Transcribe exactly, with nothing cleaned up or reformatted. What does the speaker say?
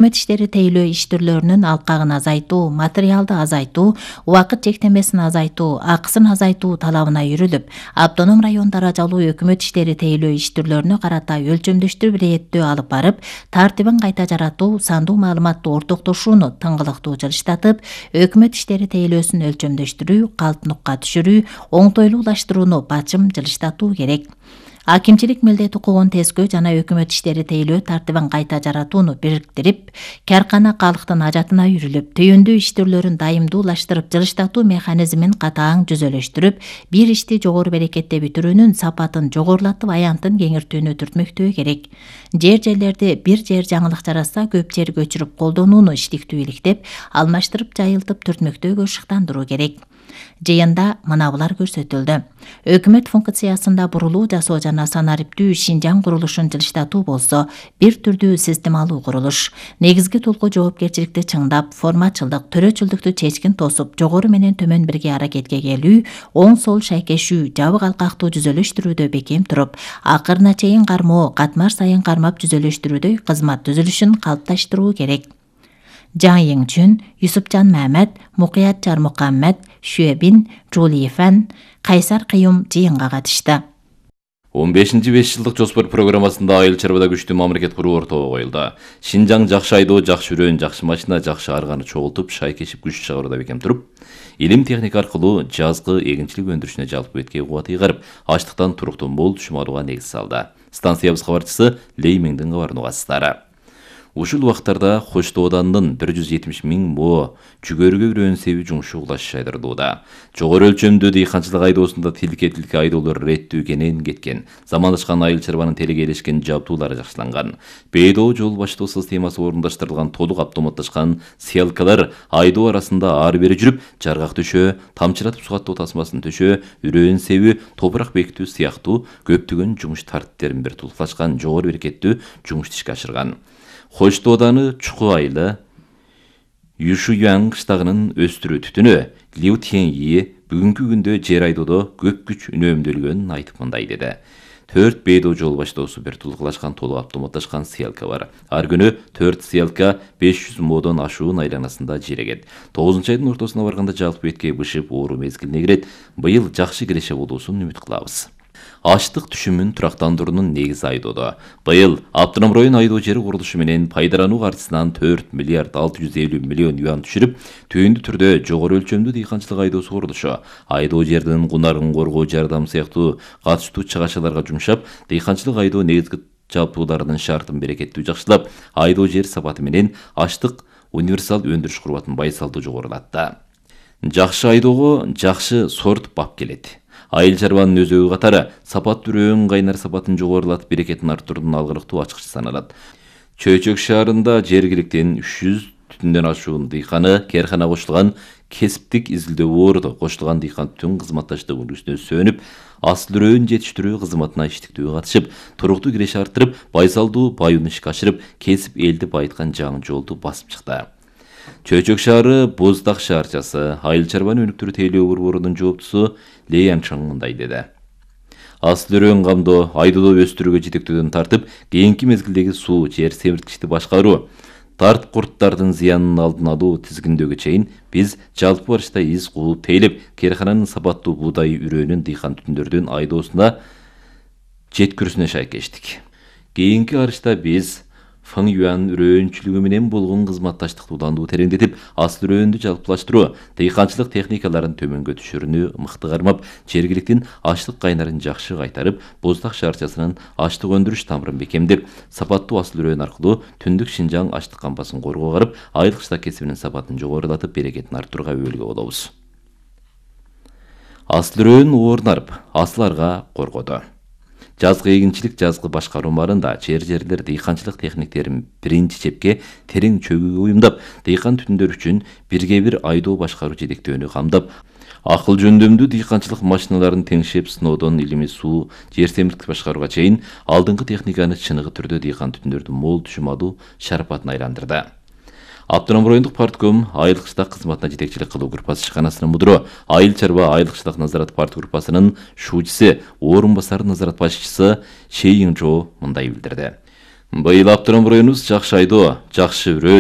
Өкмөт иштери тейлөө иш түрлөрүнүн алкагын азайтуу, материалды азайтуу, убакыт чектемесин азайтуу, акысын азайтуу талабына үйрүлүп, автоном район даражалуу өкмөт иштери тейлөө иш түрлөрүнө карата өлчөмдөштүр бирееттөө алып барып, тартибин кайта жаратуу, сандуу маалыматтуу ортоктошууну тыңгылыктуу жылыштатып, өкмөт иштери тейлөөсүн өлчөмдөштүрүү, калпнукка түшүрүү, оңтойлуулаштырууну бачым жылыштатуу керек. Акимчилик милдет укугун тескөө жана өкмөт иштери тейлөө тартибин кайта жаратууну бириктирип, каркана калктын ажатына үйрүлүп, түйүндүү иш түрлөрүн дайымдуулаштырып, жылыштатуу механизмин катаң жүзөлөштүрүп, бир ишти жогору берекетте бүтүрүүнүн сапатын жогорулатып, аянтын кеңиртүүнү түртмөктөө керек. Жер жерлерди бир жер жаңылык жаратса, көп жер көчүрүп колдонууну иштиктүү иликтеп, алмаштырып, жайылтып, түртмөктөөгө шыктандыруу керек. Жыйында мынабулар көрсөтүлдү. Өкмөт функциясында бурулуу жасоо жана санариптүү Шинжаң курулушун жылыштатуу болсо, бир түрдүү системалуу курулуш. Негизги толку жоопкерчиликти чыңдап, формачылдык, төрөчүлдүктү чечкин тосуп, жогору менен төмөн бирге аракетке келүү, оң сол шайкешүү, жабык алкактуу жүзөлөштүрүүдө бекем туруп, акырына чейин кармоо, катмар сайын кармап жүзөлөштүрүүдөй кызмат түзүлүшүн калыпташтыруу керек. Жан Йиңчүн, Юсупжан Мамед, Мукият Жармукаммед, Шүөбин, Жули Фэн, Кайсар Кыюм жыйынга катышты. он бешинчи беш жылдык жоспор программасында айыл чарбада күчтүү мамлекет куруу ортого коюлду. Шинжаң жакшы айдоо, жакшы үрөөн, жакшы машина, жакшы арганы чогултуп, шайкешип күч чыгарууда бекем туруп, илим техника аркылуу жазгы эгинчилик өндүрүшүнө жалпы бетке кубат ыйгарып, ачлыктан туруктуу мол түшүм алууга негиз салды. Станциябыз кабарчысы Лей Меңдин кабарын угасыздар. Ушул убактарда Коштоо ауданынын бир жүз жетимиш миң мо жүгөрүгө үрөөн себи жумушу улаш жайдырдууда. Жогору өлчөмдүү дыйканчылык айдоосунда тилке-тилке айдоолор реттүү кенен кеткен. Замандаашкан айыл чарбанын телегейлешкен жабдуулары жакшыланган. Бейдоо жол баштоо системасы орундаштырылган толук автоматташкан сеялкалар айдоо арасында ары бери жүрүп, жаргак төшөө, тамчыратып сугаттоо тасмасын төшөө, үрөөн себи, топурак бекитүү сыяктуу көптөгөн жумуш тартиптерин бир тулукташкан жогору берекеттүү жумушту ишке ашырган. Коштоо ауданы Чуку айылы Юшуян кыштагынын өстүрүү түтүнү Лиу Тяньи бүгүнкү күндө жер айдоодо көп күч үнөмдөлгөнүн айтып мындай деди. Төрт бейдоо жол баштоосу бир тулгулашкан толук автоматташкан сыялка бар. Ар күнү төрт сыялка беш жүз модон ашуун айланасында жирегет. тогузунчу айдын ортосуна барганда жалпы бетке бышып оору мезгилине кирет. Быйыл жакшы киреше болуусун үмүт кылабыз. Аштык түшүмүн турактандыруунун негизи айдоодо. Быйыл автоном район айдоо жери курулушу менен пайдалануу каржысынан төрт миллиард алты жүз элүү миллион юан түшүрүп, түйүндү түрдө жогору өлчөмдүү дыйканчылык айдоосу курулушу, айдоо жердин кунарын коргоо жардам сыяктуу катыштуу чыгачаларга жумшап, дыйканчылык айдоо негизги жабдууларынын шартын берекеттүү жакшылап, айдоо жер сапаты менен аштык универсал өндүрүш курбатын байсалдуу жогорулатты. Жакшы айдоого жакшы сорт бап келет. Айыл чарбанын өзөгү катары сапаттуу үрөөн кайнар сапатын жогорулатып, берекетин арттыруунун алгырыктуу ачкычы саналат. Чөйчөк шаарында жергиликтен үч жүз түтүндөн ашуун дыйканы кээрхана кошулган кесиптик изилдөө орду кошулган дыйкан түтүн кызматташтык үлгүсүнө сөнүп, асыл үрөөн жетиштирүү кызматына иштиктүү катышып, туруктуу киреше арттырып, байсалдуу баюун ишке ашырып, кесип элди байыткан жаңы жолду басып чыкты. Чөйчөк шаары Боздак шаарчасы айыл чарбаны өнүктүрүү тейлөө борборунун жооптусу Лей Янчаң мындай деди. Асыл үрөөн камдоо айдоодо өстүрүүгө жетектөөдөн тартып, кийинки мезгилдеги суу, жер семирткичти башкаруу, тарт курттардын зыянын алдын алуу тизгиндөөгө чейин биз жалпы барышта из кууп тейлеп, кээрхананын сапаттуу буудай үрөөнүн дыйкан түтүндөрдүн айдоосуна жеткирүүсүнө шайкештик. Кийинки арышта биз Фың Юан үрөөнчүлүгү менен болгон кызматташтыкты уландуу тереңдетип, асыл үрөөндү жалпылаштыруу, дыйканчылык техникаларын төмөнгө түшүрүүнү мыкты кармап, жергиликтин ачлык кайнарын жакшы кайтарып, Боздак шаарчасынын ачлык өндүрүш тамырын бекемдеп, сапаттуу асыл үрөөн аркылуу түндүк Шинжаң ачлык кампасын коргоо карып, айыл кыштак кесибинин сапатын жогорулатып, берекетин арттырууга өбөлгө болобуз. Асыл үрөөн оорунарып, асыларга коргоду. Жазгы эгинчилик, жазгы башкаруу барында жер жерлер дыйканчылык техниктерин биринчи чепке терең чөгүүгө уюмдап, дыйкан түтүндөр үчүн бирге бир айдоо башкаруу жетектөөнү камдап, акыл жөндөмдүү дыйканчылык машиналарын теңшеп, сыноодон илими суу, жер семирткич башкарууга чейин алдыңкы техниканы чыныгы түрдө дыйкан түтүндөрдү мол түшүм алуу шарапатына айландырды. Автоном райондук партком айыл кыштак кызматына жетекчилик кылуу группасы ишканасынын мудуру, айыл чарба айыл кыштак назарат парт группасынын шуучусу, орун басары назарат башчысы Шейиңжо мындай билдирди. Быйыл автоном районубуз жакшы айдоо, жакшы өрөө,